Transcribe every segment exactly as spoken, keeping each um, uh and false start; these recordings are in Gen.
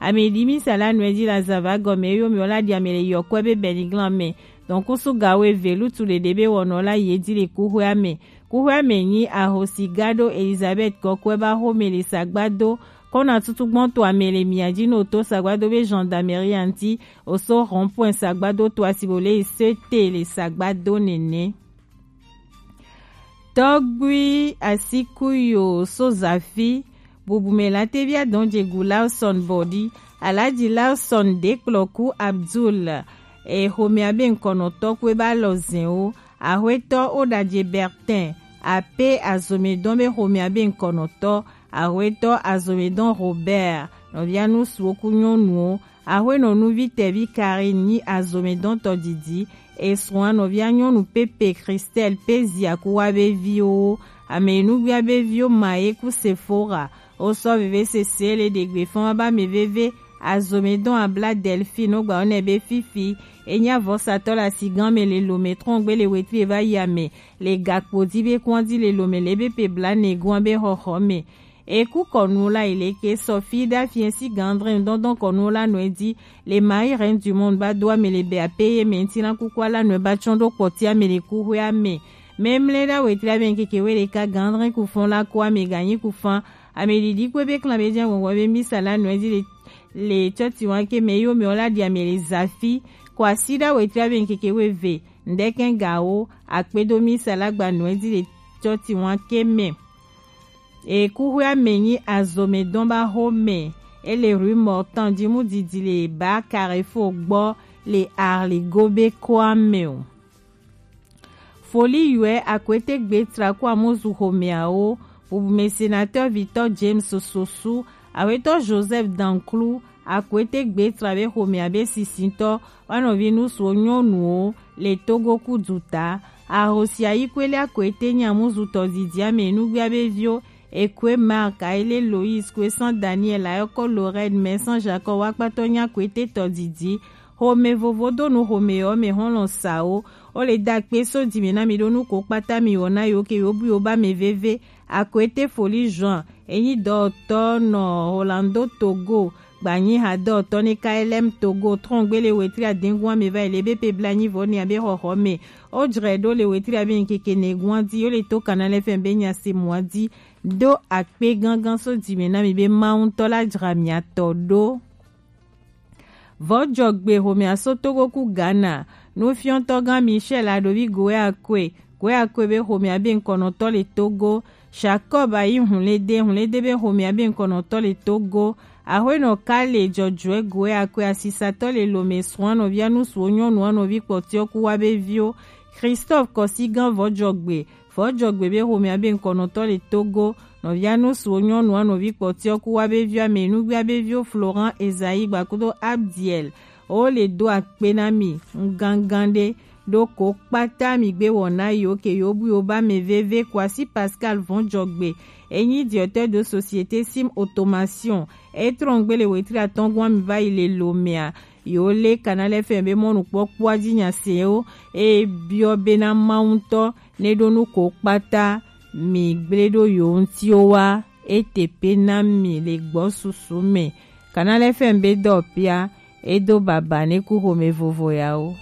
Ame ɖi misa la nɔe ji la zava gɔme yo mi o la ɖi ame le yɔkɔe be bɛniglan mɛ. Donc kusu gawo eve lutu ɖeɖe be wɔnɔ la ye ji le kuxɔa mɛ. Kuxɔa mɛ nyi ahosi gado Elizabeth kɔkɔe ba xome le sagbado kɔna tutu gbɔn to ame le mia ji no to sagbado be gendarmerie anti oso rond-point sagbado to asibo le sete le sagbado nene. Tɔgbi Asikuyo Sozafi, bubume la tebia dɔn jegu Lawson Bɔdi, Alaji Lawson Dekplɔku Abdul, e xomea be ŋkɔnɔtɔ kue ba lɔ zɛn o, axwetɔ Odaje Bertin, ape azomedɔn be xomea be ŋkɔnɔtɔ, axwetɔ azomedɔn Robert, nɔvia nusuwo ku nyɔnuwo, Axwenɔ nuvi tɛvi Karine nyi azomedɔntɔ didi, esrɔ̃a nɔvia nyɔnu Pepe Christelle pe ziakuwa be viwo, ame nugbia be viwo Maye ku Sephora, osɔ veve sese le ɖegbe fɔn ba me veve, azomedɔn abla Delphine ogba one be fifi, enya vɔsatɔ la sigan me le lome trɔngbe le wetri va yi ame, le gakpo di be kɔn di le lome le be pe bla ne gɔn be xɔxɔ me. Eku kɔnu la ileke sɔfi da fiɛsi gandrin dɔndɔn kɔnu la nɔe di le Marie Reine du Monde ba do ame le be ape ye mɛ ŋuti na kukua la nɔe ba tsɔn ɖo kpɔti ame le kuxɔe ame. Mɛmlɛ ɖa wetri ame ŋkeke we ɖeka gandrin kufɔn la ko ame ganyi kufan ame ɖiɖi kpe be klan be jɛ ŋgɔŋgɔ be misa la nɔe di le le tsɔti wan ke mɛ yo mɛ o la ɖi ame le zafi ko asi ɖa wetri ame ŋkeke we ve ŋdɛkɛ gawo akpedo misa la gba nɔe di le tsɔti wan ke mɛ. Ekuxɔa me nyi azɔmedɔn ba xɔme. Ele rue Mortan ji mu didi le ba Carrefour gbɔ le Arligo be kɔa me o. Foli yɔe akwete gbe tra ko amuzu xɔmeawo. Bubume sénateur Victor James Sosu, awetɔ Joseph Danclou, akwete gbe tra be xɔmea be sisintɔ wa nɔvi nusuwo nyɔnuwo le Togo ku duta. Ahosia yi kwele akwete nyi amuzu tɔdidi ame nugbia be viwo, Ekwe Marc, Aile Lois, Kwesan Daniel, Ayɔkɔ Lorraine, Mɛsan Jacob, wakpatɔ nyi akwete tɔdidi. Xome vovo do nu xome yɔ me xɔlɔ sawo. O le da kpe so dime na mi ɖo nu ko kpata mi wɔ na yo ke yo bu yo ba me veve. Akwete Foli Juan, enyi dɔtɔ nɔ Rolando Togo, gbanyi ha dɔtɔ ne K L M Togo, trɔngbe le wetri adengun ame va yi le be pe bla nyi vɔ ne abe xɔxɔ me. O jrɛ ɖo le wetri abe nkeke ne gun adi, yo le to Canal F M be nya se mu adi. Do akpe gangan so dime na mi be Mawu ŋutɔ la jra mi atɔ ɖo. Vɔjɔgbe xomea so Togo ku Ghana. Nufiɔtɔgã Michel Adovi Goeakue, Goeakue be xomea be ŋkɔnɔtɔ le Togo. Jacob Ayi Hunlede, Hunlede be xomea be ŋkɔnɔtɔ le Togo. Axwenɔ Kale Jɔjɔɛ Goeakue asisatɔ le Lome srɔ̃a nɔvia nusuwo nyɔnua nɔvi kpɔtiɔ ku wa be viwo. Christophe Kɔsigã Vɔjɔgbe, Vɔjɔgbe be xomea be ŋkɔnɔtɔ le Togo, nɔvia nusuwo nyɔnua nɔvi kpɔtiɔ ku wa be viwo ame nugbia be viwo Florent Esaïe gbakudo Abdiel. O le do akpe na mi ŋgangan ɖe ɖo ko kpata mi gbe wɔ na yo ke yo bu yo ba me veve Kwasi Pascal Vɔjɔgbe. Enyi directeur de société Sim Automation. Etrɔn gbe le wetri atɔngua mi va yi le Lomea. Yo le Canal F M be mɔnukpɔkpɔa ji nya se wo. E biɔ be na Mawu ŋutɔ ne ɖo nu ko kpata mi gble ɖo yo ŋuti o wa e te pe na mi le gbɔ susu me. Canal F M be dɔ pia e do baba ne ku xome vovo ya o.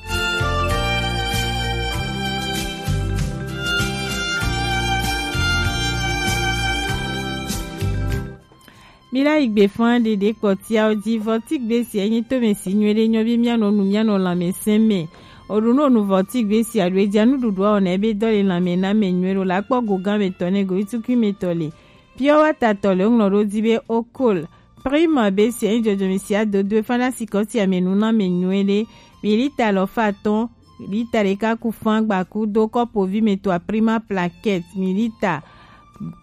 Mi la yi gbe fan ɖeɖe kpɔtiawo ji vɔtigbe si enyi tome si nyuie ɖe nyɔ bi mia nɔ nu mia nɔ lãmesẽ me. Oɖu nɔ nu vɔtigbe si aɖu eja nuɖuɖu awɔ na ebe dɔ le lãme na me nyuie ɖo la kpɔ go gã me tɔ ne go itukui me tɔ le. Pure water tɔ le ŋlɔ ɖo di be okol. Prima be si enyi dzɔdzɔme si adodo efa na sikɔ si ame nu na me nyuie ɖe. Mi lita lɔ fa atɔn, lita ɖeka ku fan gbaku do kɔpo vi me tɔ a prima plaquette, mi lita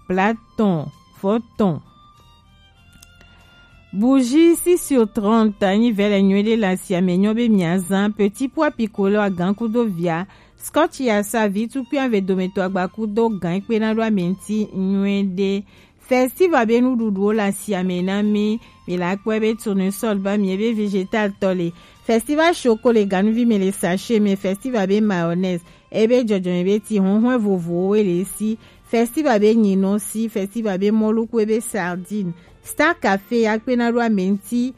blatɔn, vɔtɔn. Bougie six sur trente anyi vɛ le nyuie ɖe le asi ame nyɔ be mia zan petit pois piccolo agan kudo via. Scotch ya sa vi tukui ave dometɔ agba kudo gan kpe na ɖo ame ŋuti nyuie ɖe. Festival be nuɖuɖuwo le asi ame na mi. Mi la kpɔe be tournesol ba mi ebe vegetal tɔ le. Festival choco le ganuvi me le sachet me. Festival be mayonnaise ebe dzɔdzɔme be ti huhue vovowo le si. Festival be nyinɔ si. Festival be mɔlu ku ebe sardine. Star Café ya kpe na ɖo ame ŋuti.